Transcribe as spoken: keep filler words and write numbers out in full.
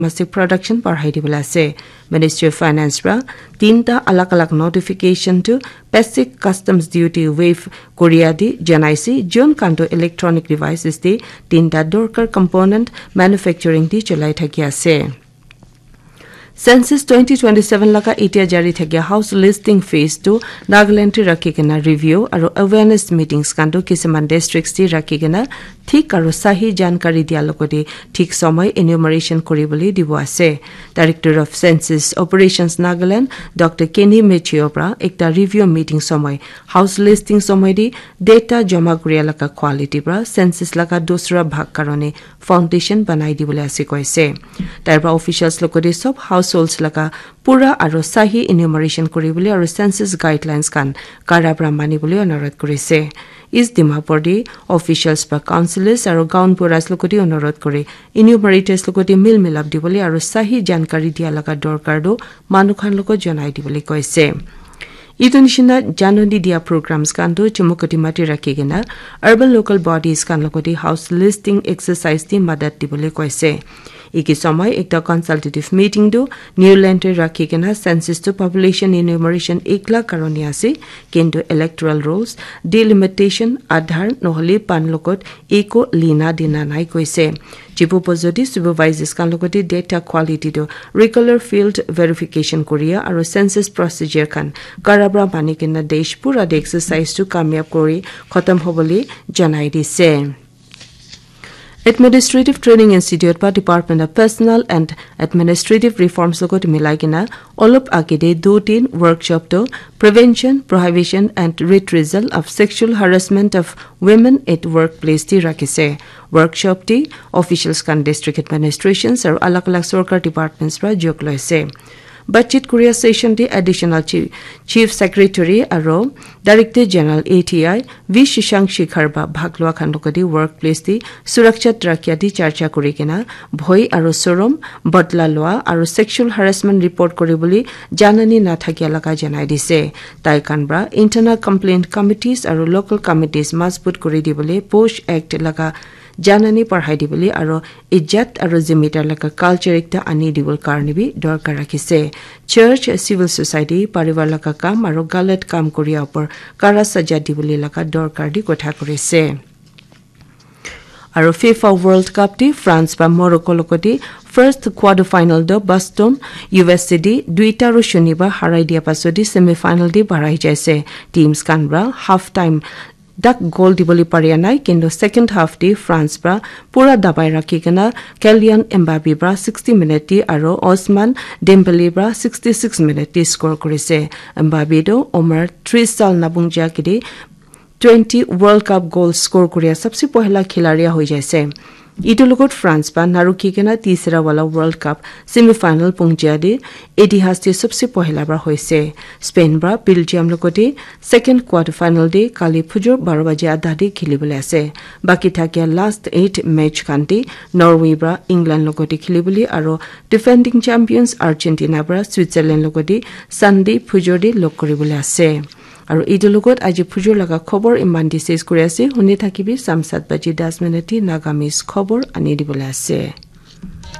domestic production barhai dibole ase. Ministry of Finance pra tinta alag alag notification to basic customs duty waive koria di janaise, jun kanto electronic devices di tinta dorkar component manufacturing di cholai thaki ase. Census twenty twenty-seven laga itia jari thakia house listing phase tu Nagaland te rakhi kena review aru awareness meetings kanto kisiman districts te rakhi kena thik aru sahi jankari dia logote thik somoi enumeration kori bole dibo ase. Director of Census Operations Nagaland, Doctor Kenny Mechio pra ekta review meeting somoi house listing somoi di data jama koria laga quality pra census laga dusra bhag karone foundation banai dibole ase koise. Tai pra officials logote sob households laga pura aru sahi enumeration kori bole aru census guidelines kan kara pra mani bole onurodh korise. East Dimapur di officials ba councillors aru gaon buras logote onurodh kore enumerators logote mil milap dibole aru sahi jankari dia laga dorkar tu manu khan logot janai dibole koise. Itu nishina janani dia programs kan tu chumukoti mati rakhi kena urban local bodies kan logote house listing exercise di madat dibole koise. Iki somoi ekta consultative meeting tu Newland te rakhi kena census tu population enumeration ek lakh karone ase, kintu electoral rolls, delimitation, Aadhaar nohole pan logot eko lina dina nai koise. Jipu po jodi supervisors kan logote data quality tu regular field verification koria aru census procedure kan karabra mani kena desh pura de exercise tu kamyab kori khatam hobole janai dise. Administrative Training Institute pa Department of Personnel and Administrative Reforms logot milai kena olop agede do tin workshop to Prevention, Prohibition and Retracel of Sexual Harassment of Women at Workplace ti rakhise. Workshop ti officials kan district administrations aru alag alag sorkar departments pra jog loise. Batchit Korea session ti Additional Chief, Chief Secretary aru Director General A T I V Shishang Shikhar ba bhag lua khan logote workplace ti surakshat rakhia ti charcha kuri kena bhoi aru sorom, bodla lua aru sexual harassment report kuri bole janani na thakia laga janai dise. Tai khan pra internal complaint committees aru local committees mazbut kuri dibole POSH Act laga janani parhai dibole aru ijat aru zimidar laga culture ekta ani dibole karne bi dorkar rakhise. Church, civil society, parivar laga kam aru galat kam koria upor kara saja dibole laga dorkar di kotha korise. Aru FIFA World Cup di France ba Morocco logote first quarter final do Boston U S A di duita ru shunibar harai dia pasot di semi final di barai jaise. Teams khan pra half time dak goal dibole paria nai, kintu second half te France pra pura dabai rakhi kena Kylian Mbappe pra sixty minute te aru Ousmane Dembele pra sixty-six minute te score korise. Mbappe to Omar tris sal nabung ja kide twenty World Cup goal score koria sabse pohla khilaria hoi jaise. Itu logot France ba narukhi kena tisra wala World Cup semi final pungjia de itihas te sabse pohla bra hoise. Spain bra Belgium logote second quarter final de kali phujur baro baje adha de khilibole ase. Baki thakia last eight match khan de Norway bra England logote khilibole aro defending champions Argentina bra Switzerland logote Sunday phujur de log koribole ase. Aru etu logot aji phujur laga khobor iman te ses kuri ase. Huni thakibi sam sat baji das minute te Nagamese khobor ani dibole ase.